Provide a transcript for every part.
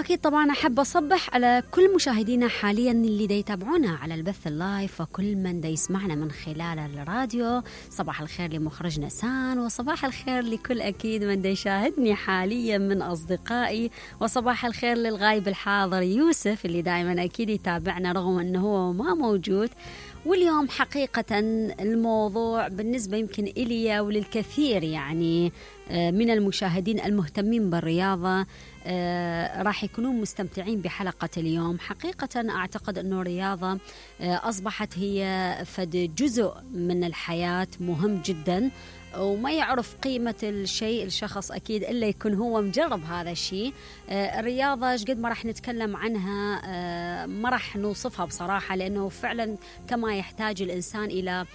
وأكيد طبعا أحب أصبح على كل مشاهدينا حاليا اللي دا يتابعونا على البث اللايف، وكل من دا يسمعنا من خلال الراديو. صباح الخير لمخرجنا سان، وصباح الخير لكل أكيد من دا يشاهدني حاليا من أصدقائي، وصباح الخير للغايب الحاضر يوسف اللي دائما أكيد يتابعنا رغم أنه هو ما موجود. واليوم حقيقة الموضوع بالنسبة يمكن إلي وللكثير يعني من المشاهدين المهتمين بالرياضة راح يكونون مستمتعين بحلقة اليوم. حقيقة أعتقد أنه الرياضة أصبحت هي فد جزء من الحياة مهم جدا، وما يعرف قيمة الشيء الشخص أكيد إلا يكون هو مجرب هذا الشيء. الرياضة قد ما راح نتكلم عنها ما راح نوصفها بصراحة، لأنه فعلا كما يحتاج الإنسان إلى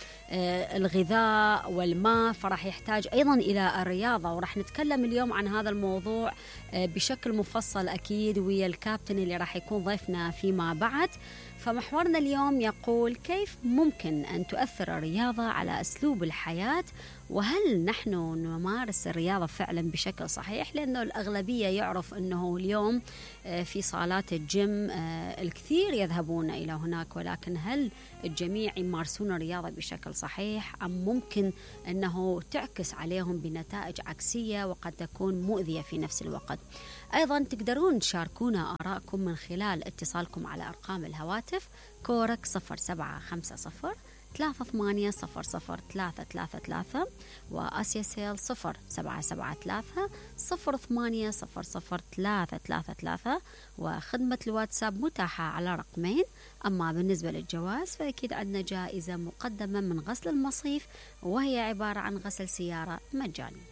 الغذاء والماء فراح يحتاج أيضا إلى الرياضة. وراح نتكلم اليوم عن هذا الموضوع بشكل مفصل أكيد ويا الكابتن اللي راح يكون ضيفنا فيما بعد. فمحورنا اليوم يقول: كيف ممكن أن تؤثر الرياضة على أسلوب الحياة؟ وهل نحن نمارس الرياضة فعلا بشكل صحيح؟ لأنه الأغلبية يعرف أنه اليوم في صالات الجيم الكثير يذهبون إلى هناك، ولكن هل الجميع يمارسون الرياضة بشكل صحيح، أم ممكن أنه تعكس عليهم بنتائج عكسية وقد تكون مؤذية في نفس الوقت؟ أيضا تقدرون تشاركونا آراءكم من خلال اتصالكم على أرقام الهواتف كورك 0750 3800 وآسيا سيل 0773 0800 وخدمة الواتساب متاحة على رقمين. أما بالنسبة للجواز فأكيد عندنا جائزة مقدمة من غسل المصيف، وهي عبارة عن غسل سيارة مجاني.